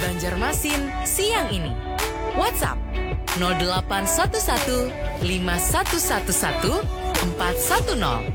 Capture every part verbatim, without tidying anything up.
Banjarmasin siang ini. WhatsApp nol delapan satu satu lima satu satu satu empat satu nol.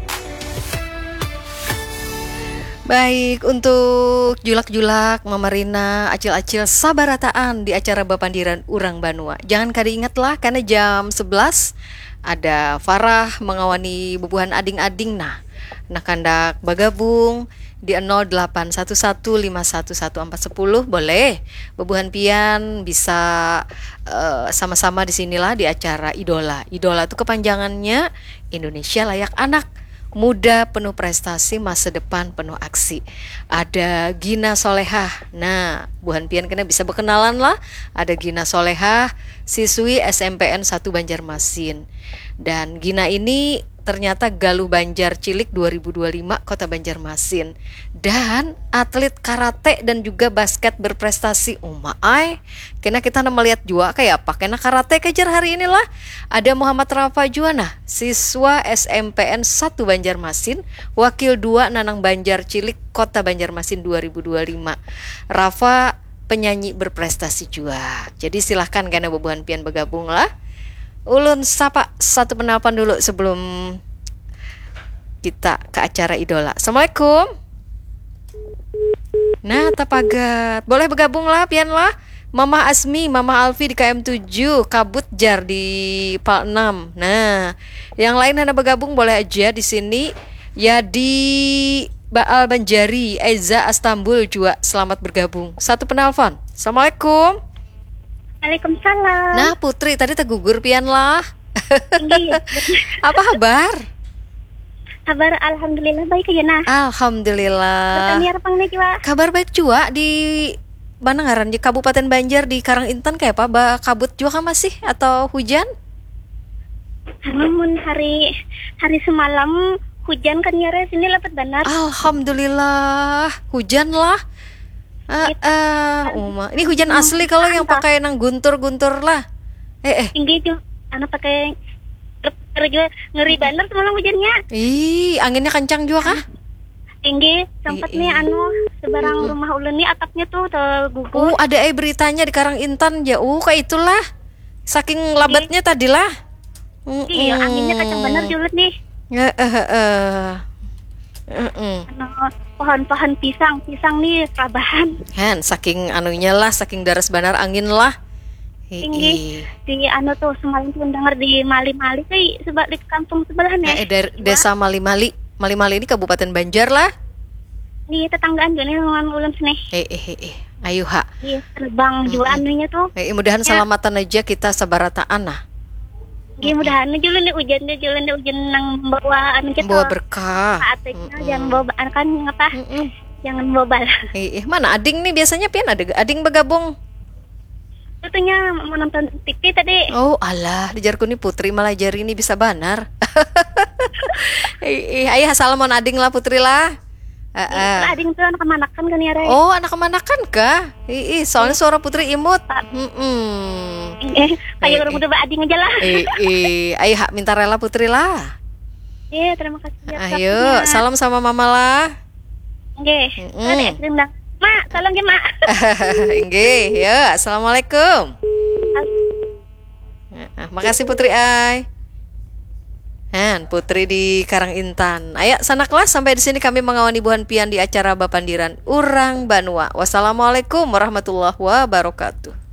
Baik, untuk julak-julak, mamarina, acil-acil sabarataan di acara bapandiran urang banua. Jangan kada ingatlah, karena jam sebelas ada Farah mengawani bubuhan ading-ading. Nah, nah kandak bagabung di nol delapan satu satu lima satu satu empat sepuluh boleh. Bubuhan pian bisa eh, sama-sama di sinilah di acara Idola. Idola itu kepanjangannya Indonesia Layak Anak. Muda penuh prestasi, masa depan penuh aksi. Ada Gina Solehah. Nah, buhan pian kena bisa berkenalan lah. Ada Gina Solehah, siswi S M P N satu Banjarmasin. Dan Gina ini ternyata Galuh Banjar Cilik dua ribu dua lima Kota Banjarmasin. Dan atlet karate dan juga basket berprestasi. Uma ai, kena kita melihat jua kayak apa. Kena karate kejar hari inilah. Ada Muhammad Rafa jua nah, siswa S M P N satu Banjarmasin, wakil dua Nanang Banjar Cilik Kota Banjarmasin dua ribu dua lima. Rafa penyanyi berprestasi jua. Jadi silahkan kena bubuhan pian bergabung lah. Ulun sapa satu penelpon dulu sebelum kita ke acara Idola. Assalamualaikum. Nah, tapagat. Boleh bergabung lah, pian lah. Mamah Asmi, Mamah Alfi di K M tujuh, Kabut jar di Pal enam. Nah, yang lain hana bergabung boleh aja di sini. Ya di Baal Banjari, Eza Astambul juga selamat bergabung. Satu penelpon. Assalamualaikum. Waalaikumsalam. Nah, Putri tadi tegugur pian lah. Inggih. Apa kabar? Kabar alhamdulillah baik aja nah. Alhamdulillah. Bertaniar pang nih juga. Kabar baik juga di mana ngaran di Kabupaten Banjar di Karang Intan kayak apa? Ba kabut juga kah masih atau hujan? Namun hari hari semalam hujan kan nyare sini lebat banget. Alhamdulillah, hujan lah. Ah, ah, Uma. Ini hujan asli kalau yang pakai nang guntur-guntur lah. Eh, eh. Tinggi juga, anu pakai terus juga ngeri banget semalam hujannya. Ih, anginnya kencang juga kah? Tinggi, sempat nih anu seberang rumah ulun nih atapnya tuh tergugur. Oh, ada eh beritanya di Karang Intan ya. Uh, kayak itulah. Saking labatnya tadi lah. Iya, anginnya kencang bener juga nih. Ya, eh, eh, eh. Mm-mm. Anu, pohon-pohon pisang, pisang nih rabahan. Hen, saking anunya lah, saking daras banar angin lah. Tinggi di anu tuh semalam tuh dengar di Mali-Mali kayak sebab di kampung sebelah nih. Eh, dari desa Mali-Mali. Mali-Mali ini Kabupaten Banjar lah. Di tetanggaan juga nih dengan ulun sini. Eh, eh, eh, eh. Ayo ha. Iya, terbang juga anunya tuh. Eh, mudahan selamatan aja kita sabarataan nah. Iya, mudahan aja lu nih hujan aja lu nih hujan nang membawa anu kita. Membawa berkah. Jangan bawa kan apa? Jangan bawa bal. Eh, eh, mana ading nih biasanya pian ada ading bergabung? Tentunya menonton T V tadi. Oh alah, dijarku nih Putri malah jari ini bisa banar. Ih, ayah salam mon ading lah Putri lah. Heeh. Ading tuh anak kemanakan kan ya, Ray? Oh, anak kemanakan kah? Ih, soalnya suara Putri imut. Heeh. Eh, kayak orang udah ading aja lah. Ih, ayah minta rela Putri lah. Iya, terima kasih. Ayo, salam sama mama lah. Nggih. Ada es krim dah. Mak, tolong ya, Mak. Nggih, ya. Assalamualaikum. Ah, makasih Putri ai. Han, Putri di Karang Intan. Ayak sanaklah sampai di sini kami mengawani buhan pian di acara Bapandiran Urang Banua. Wassalamualaikum warahmatullahi wabarakatuh.